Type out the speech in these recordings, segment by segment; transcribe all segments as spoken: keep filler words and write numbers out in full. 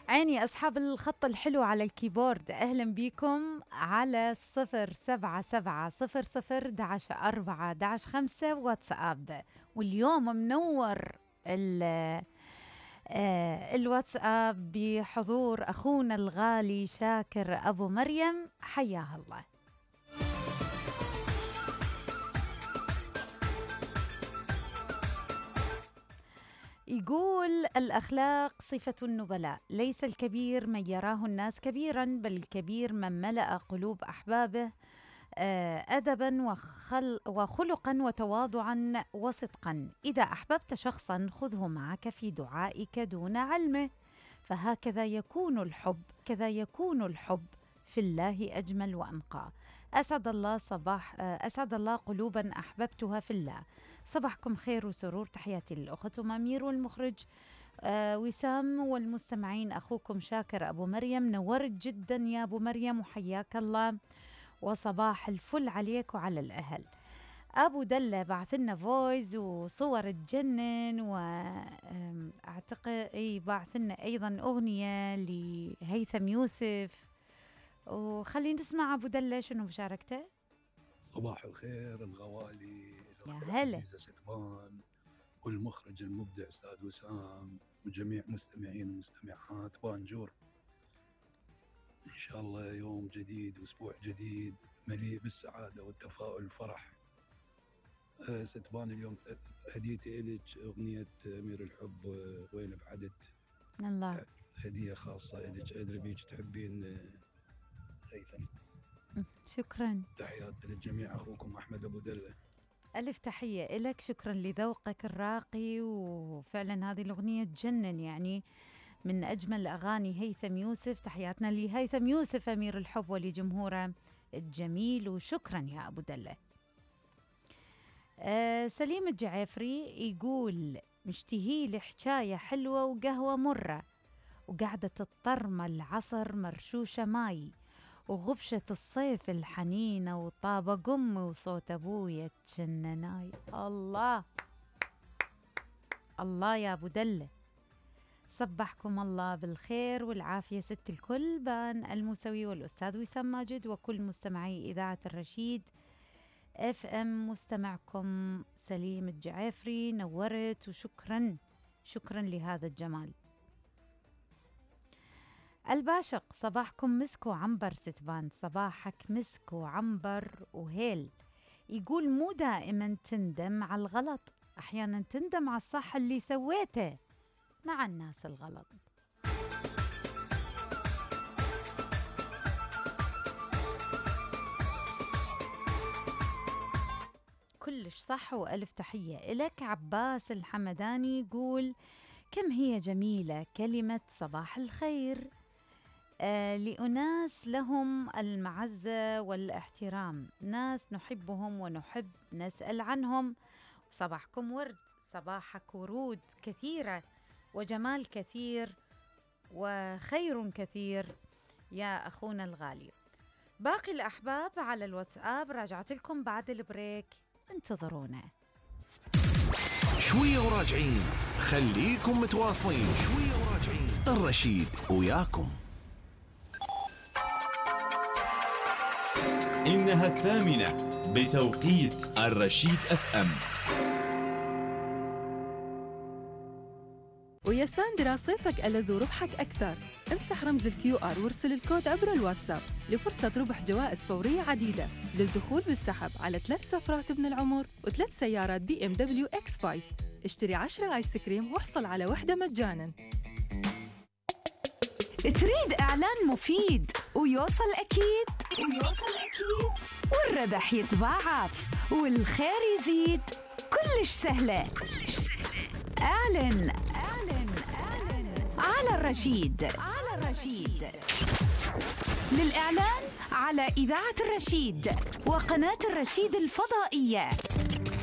عيني أصحاب الخط الحلو على الكيبورد، أهلا بيكم على صفر سبعة سبعة صفر صفر دعش أربعة دعش خمسة واتساب. واليوم منور آه الواتساب بحضور أخونا الغالي شاكر أبو مريم، حياه الله. يقول: الأخلاق صفة النبلاء، ليس الكبير من يراه الناس كبيرا، بل الكبير من ملأ قلوب أحبابه أدبا وخل وخلقا وتواضعا وصدقا. إذا أحببت شخصا خذه معك في دعائك دون علمه، فهكذا يكون الحب كذا يكون الحب في الله أجمل وأنقى. أسعد الله صباح أسعد الله قلوبا أحببتها في الله. صباحكم خير وسرور، تحياتي للأخت أمير والمخرج آه وسام والمستمعين. أخوكم شاكر أبو مريم، نورت جدا يا أبو مريم وحياك الله، وصباح الفل عليك وعلى الأهل. أبو دلة بعث لنا فويز وصور تجنن، وأعتقد أي بعث لنا أيضا أغنية لهيثم يوسف. وخلينا نسمع أبو دلة شنو مشاركته. صباح الخير الغوالي، يا هلا ستبان والمخرج المبدع أستاذ وسام وجميع مستمعين ومستمعات بانجور. إن شاء الله يوم جديد وأسبوع جديد مليء بالسعادة والتفاؤل والفرح. أه ستبان اليوم هديتي إلك أغنية أمير الحب وين بعدت. الله، هدية خاصة إلك، أدري بيك تحبين هيثم. شكرا، تحياتي للجميع. أخوكم أحمد أبو دلة. ألف تحية إلك، شكرا لذوقك الراقي. وفعلا هذه الأغنية تجنن، يعني من أجمل أغاني هيثم يوسف. تحياتنا لهيثم يوسف أمير الحب ولجمهوره الجميل، وشكرا يا أبو دلة. آه سليم الجعافري يقول: مشتهي لحكاية حلوة وقهوة مرة، وقعدة الطرمة العصر مرشوشة ماي، وغبشة الصيف الحنينة، وطابة قمي وصوت أبويا تجنناي. الله الله يا أبو دلة، صبحكم الله بالخير والعافية ست الكل. بان الموسوي والأستاذ وسام ماجد وكل مستمعي إذاعة الرشيد اف ام. مستمعكم سليم الجعافري، نورت وشكرا شكرا لهذا الجمال. الباشق: صباحكم مسك وعنبر ستبان، صباحك مسك وعنبر وهيل. يقول: مو دائما تندم على الغلط، أحيانا تندم على الصح اللي سويته مع الناس الغلط. كلش صح وألف تحية إلك. عباس الحمداني يقول: كم هي جميلة كلمة صباح الخير آه لأناس لهم المعزة والاحترام، ناس نحبهم ونحب نسأل عنهم. صباحكم ورد، صباحك ورود كثيرة وجمال كثير وخير كثير يا أخونا الغالي. باقي الأحباب على الواتساب راجعت لكم بعد البريك، انتظرونا. شوية وراجعين، خليكم متواصلين. شوية وراجعين، الرشيد وياكم. إنها الثامنة بتوقيت الرشيد اف ام. ويا ساندرا صيفك ألذ وربحك أكثر. امسح رمز الكيو آر وارسل الكود عبر الواتساب لفرصة ربح جوائز فورية عديدة للدخول بالسحب على ثلاث سفرات ابن العمر وثلاث سيارات بي ام دبليو اكس خمسة. اشتري عشرة آيس كريم واحصل على واحدة مجانا. تريد إعلان مفيد ويوصل أكيد ويوصل أكيد والربح يتضاعف والخير يزيد، كلش سهلة كلش سهلة. اعلن اعلن اعلن على الرشيد على الرشيد. للإعلان على إذاعة الرشيد وقناة الرشيد الفضائية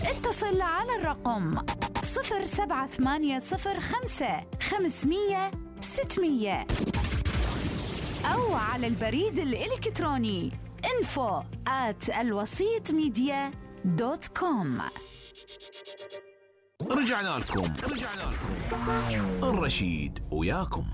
اتصل على الرقم صفر سبعة ثمانية صفر خمسة خمسمية ستمية أو على البريد الإلكتروني info at الوسيط ميديا دوت كوم. رجعنا لكم رجعنا لكم الرشيد وياكم.